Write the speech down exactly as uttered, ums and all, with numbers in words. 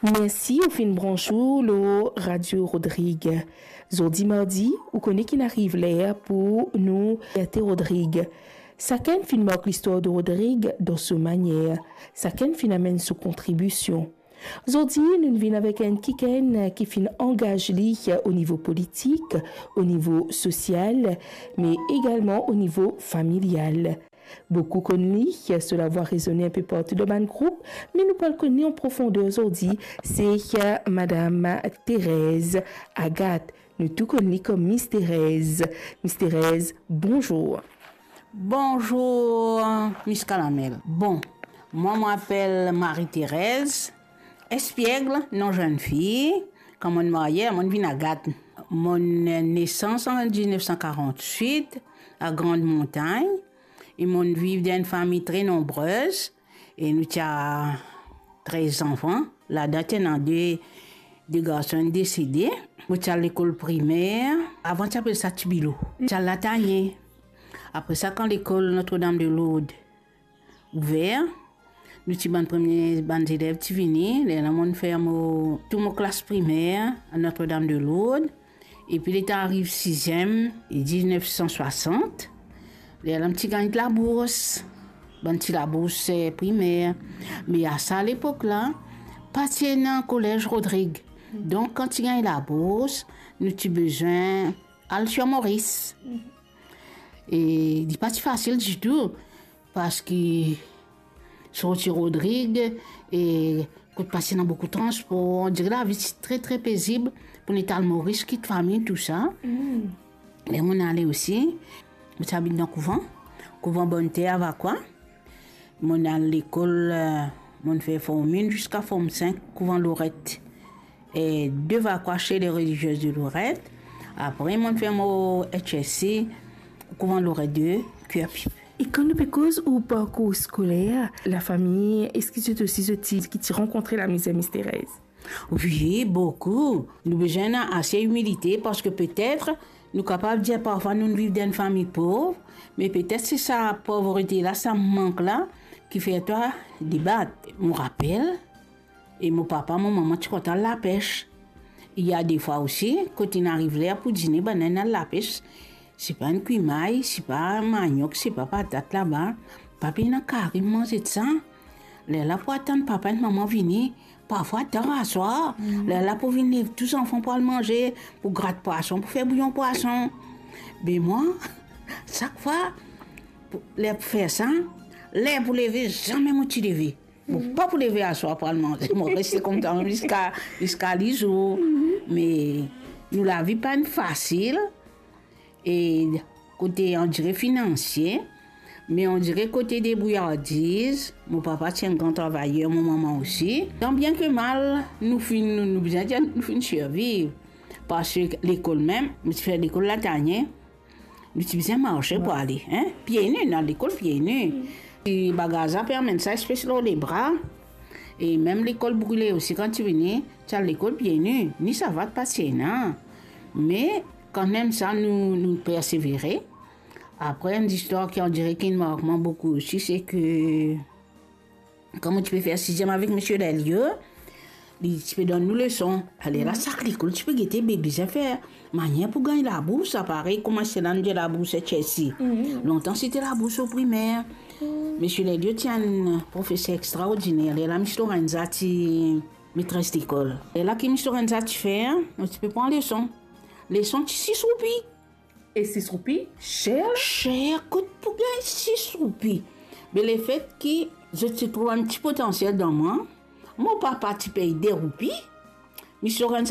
Mersi ou finn branch ou lor Radio Rodrig. Zordi mardi, ou kone ki'nn ariv ler pou nou ferte Rodrig. Sakenn finn mark listwar de Rodrig dan so manier. Sakenn finn amenn so kontribision. Zordi, nou vinn avek enn kikenn ki finn angaz li o nivo politik, o nivo sosial, me egalman o nivo familial. Boukou konn li, so lavwa rezone inpe partou dan bann group, me nou pou al konn li an profonder zordi, se Madam Thérèse Agathe. Nou tou konn li kom Miss Thérèse. Miss Thérèse, bonzour. Bonzour, Miss Kalamel. Bon, mwa, mo apel Marie-Thérèse Espiègle, non zennfi. Kan mo'nn marye, mo'nn vinn Agathe. Mo'nn nesans an diznef san karantswit, a Grande Montagne. E mo'nn viv dan enn fami tre nonbrez, e nou ti a trez zanfan. Ladan ti ena de, de garson, enn desede. Mo ti al lekol primer, avan ti apel sa Tibilo. Ti al Latanye. Apre sa, kan lekol Notre-Dame de Lourdes ouver, nou ti bann premie bann zelev ti vini, lerla mo'nn fer mo, tou mo klas primer a Notre-Dame de Lourdes. Epi letan ariv siziem, diznef san swasant, lerla mo ti gagn labours, bann ti labours, eh, primer. Me a sa lepok la, pa ti ena kolez Rodrig. Donk, kan ti gagn labours, nou ti bizin al sir Moris. E li pa ti fasil ditou, parski sorti Rodrig, e kot pa ti ena boukou transpor, on dire lavi ti tre, tre pezib pou nou al Moris, kit fami, tou sa. Mm. Me mo'nn ale osi, mo ti abit dan kouvan, kouvan Bonnter, Vakwa. Mo'nn al lekol, eh, mo'nn fer form enn ziska form sink, kouvan Loret, e de Vakwa, Chez les Religieuses de Lorette. Apre, mo'nn fer mo H S C, kouvan Loret de, Curepipe. E kan nou pe koz ou parkour skoler, lafami, eski zot osi zot ti, ki ti rankontre lamizer, Miss Thérèse? Wi, boukou. Nou bizin ena ase imilite, parski petet nou kapav dir parfwa nou viv dan enn fami pov, me petet se sa povrete la, sa mank la, ki fer twa debat. Mo rapel, e mo papa, mo mama ti kontan al lapes. Ena defwa osi, kot inn ariv ler pou dine, bann inn al lapes, sipa enn kwi may, sipa maniok, sipa patat laba, pa pe ena kari manze sa. Lerla pou atann papa ek mama vini, parfwa tar aswar. Mm. Lerla pou vinn lev tou zanfan pou al manze, pou grat pwason, pou fer bouyon pwason. Be mwa, sak fwa, pou, ler pou fer sa, ler pou leve, zame mo ti leve. Mo pa pou leve aswar pou al manze. Mo reste koumsa ziska, ziska lizour. Mm. Me nou lavi pa inn fasil. E kote, on dire, finansie, me on dire kote debrouyardiz, mo papa ti enn gran travayer, mo mama osi. Tan bien ke mal, nou finn, nou, nou bizin dir, nou finn sirviv. Parski lekol mem, mo ti fer lekol Latanye, nou ti bizin marse pou ale, en? Pie ni, nou al lekol pie ni. Mm. E bagaz la pe amenn sa espes lor lebra. E mem lekol brile osi, kan ti vini, ti al lekol pie ni, ni savat pa ti ena. Me kanmem sa, nou, nou persevere. Apre, enn zistwar ki, on dire, ki mark mwa boukou osi, se ke kan mo ti pe fer siziem avek misie Lelio, li ti pe donn nou leson. Alerla, mm, sak lekol ti pe gete be bizin fer manier pou gagn labours, aparey kouma se la nou dir labours H S C. Mm. Lontan, se ti labours o primer. Mm. Misie Lelio ti enn profeser extraordiner. Lerla, Miss Lorenza ti metres lekol. Lerla ki Miss Lorenza ti fer, nou ti pe pran leson. Leson ti sis roupi. E sis roupi, ser la? Ser, kot pou gagn sis roupi? Me lefet ki zot ti trouv enn ti potansiel dan mwa, mo papa ti pey de roupi, Miss Lorenza